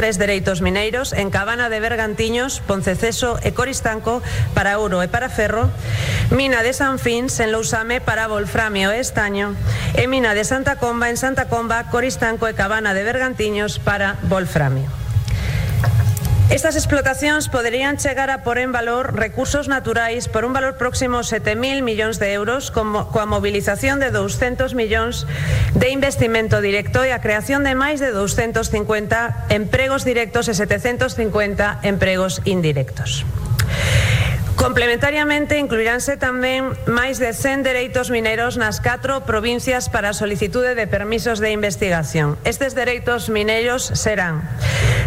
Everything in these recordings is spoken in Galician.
3 dereitos mineiros en Cabana de Bergantiños, Ponceceso e Coristanco para ouro e para ferro, mina de San Fins en Lousame para volframio e estaño e mina de Santa Comba en Santa Comba, Coristanco e Cabana de Bergantiños para volframio. Estas explotacións poderían chegar a por en valor recursos naturais por un valor próximo a 7.000 millóns de euros coa mobilización de 200 millóns de investimento directo e a creación de máis de 250 empregos directos e 750 empregos indirectos. Complementariamente, incluiránse tamén máis de 100 dereitos mineiros nas 4 provincias para a solicitude de permisos de investigación. Estes dereitos mineiros serán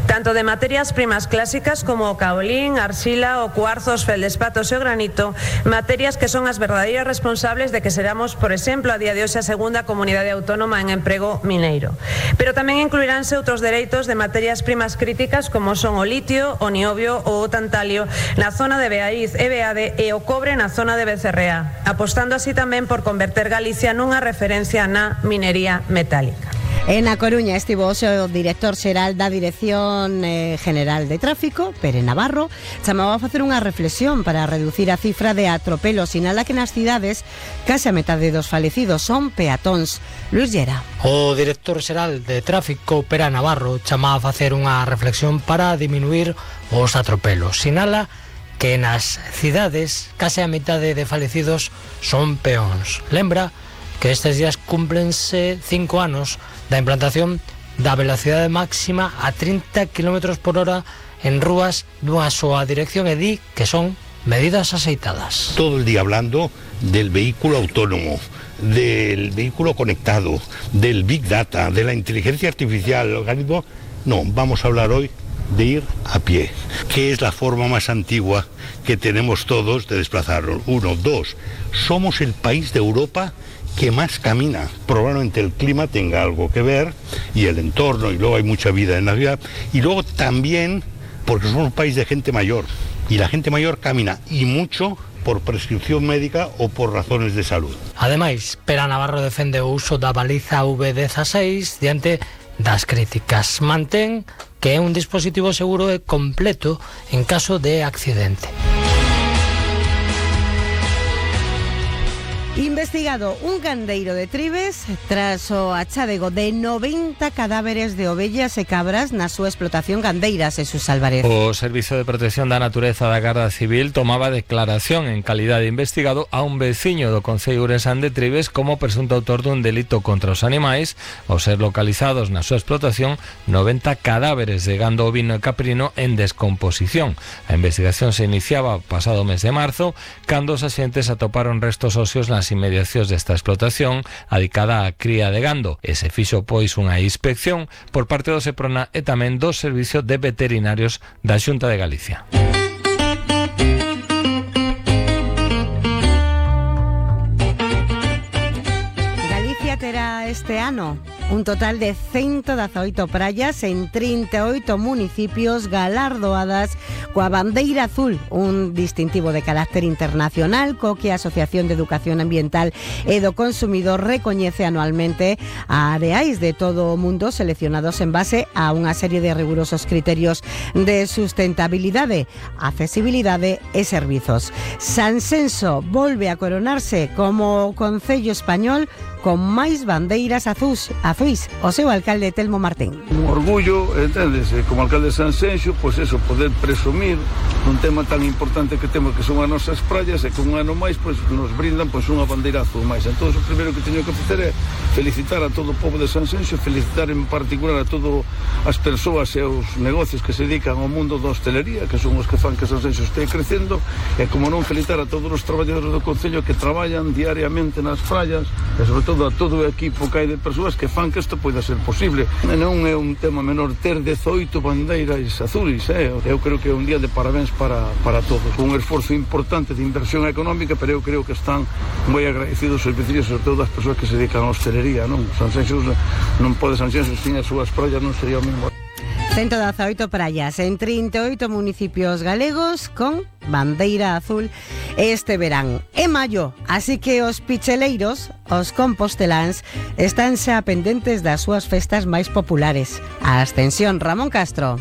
tanto de materias primas clásicas como o caolín, arxila, o cuarzo, os feldespatos e o granito, materias que son as verdadeiras responsables de que seramos, por exemplo, a día de hoxe a segunda comunidade autónoma en emprego mineiro. Pero tamén incluiránse outros dereitos de materias primas críticas como son o litio, o niobio ou o tantalio na zona de Beaiz e Beade e o cobre na zona de Becerrea, apostando así tamén por converter Galicia nunha referencia na minería metálica. En A Coruña estivo hoxe o director xeral da Dirección General de Tráfico, Pere Navarro, chamaba a facer unha reflexión para reducir a cifra de atropelos. Sinala que nas cidades case a metade dos falecidos son peatóns. Luis Llera. O director xeral de Tráfico, Pere Navarro, chamaba a facer unha reflexión para diminuir os atropelos. Sinala que nas cidades case a metade de falecidos son peóns. Lembra que estes días cúmplense 5 anos da implantación da velocidade máxima a 30 km por hora en rúas dunha soa dirección e di que son medidas aceitadas. Todo el día hablando del vehículo autónomo, del vehículo conectado, del Big Data, de la inteligencia artificial, el organismo. No, vamos a hablar hoy de ir a pie, que es la forma más antigua que tenemos todos de desplazarnos. 1, 2, somos el país de Europa que más camina. Probablemente el clima tenga algo que ver y el entorno, y luego hay mucha vida en la ciudad, y luego también porque somos un país de gente mayor y la gente mayor camina y mucho por prescripción médica ou por razones de salud. Ademais, Pere Navarro defende o uso da baliza V16 diante das críticas. Mantén que é un dispositivo seguro e completo en caso de accidente. Investigado un gandeiro de Tribes tras o achadego de 90 cadáveres de ovellas e cabras na súa explotación gandeira, Jesús Álvarez. O Servicio de Protección da Natureza da Garda Civil tomaba declaración en calidade de investigado a un veciño do concello ourensán de Tribes como presunto autor dun delito contra os animais ao ser localizados na súa explotación 90 cadáveres de gando ovino e caprino en descomposición. A investigación se iniciaba o pasado mes de marzo cando os axentes atoparon restos óseos nas inmediacións desta explotación adicada á cría de gando e se fixo pois unha inspección por parte do Seprona e tamén do Servicio de Veterinarios da Xunta de Galicia. Galicia terá este ano un total de 118 praias en 38 municipios galardoadas coa bandeira azul, un distintivo de carácter internacional co que a Asociación de Educación Ambiental e do Consumidor recoñece anualmente a areais de todo o mundo seleccionados en base a unha serie de rigurosos criterios de sustentabilidade, accesibilidade e servizos. Sanxenxo volve a coronarse como concello español con máis bandeiras azuis, o seu alcalde Telmo Martín. Un orgullo, entendes, como alcalde de Sanxenxo, pois eso, poder presumir un tema tan importante que temos que son as nosas praias e que un ano máis pois nos brindan pois unha bandeira azul máis. Entón, o primeiro que teño que facer é felicitar a todo o povo de Sanxenxo, felicitar en particular a todas as persoas e os negocios que se dedican ao mundo da hostelería, que son os que fan que Sanxenxo este crecendo, e como non felicitar a todos os traballadores do concello que traballan diariamente nas praias, e sobre todo a todo o equipo que hai de persoas que fan que isto poida ser posible. Non é un tema menor ter 18 bandeiras azuis, eu creo que é un día de parabéns para todos. Un esforzo importante de inversión económica, pero eu creo que están moi agradecidos os vecinos, sobre todo as persoas que se dedican á hostelería, non? Sanxenxo non pode Sanxenxo sin as súas praias non sería o mesmo. 118 praias en 38 municipios galegos con bandeira azul este verán. É maio, así que os picheleiros, os composteláns, están xa pendentes das súas festas máis populares. A Ascensión, Ramón Castro.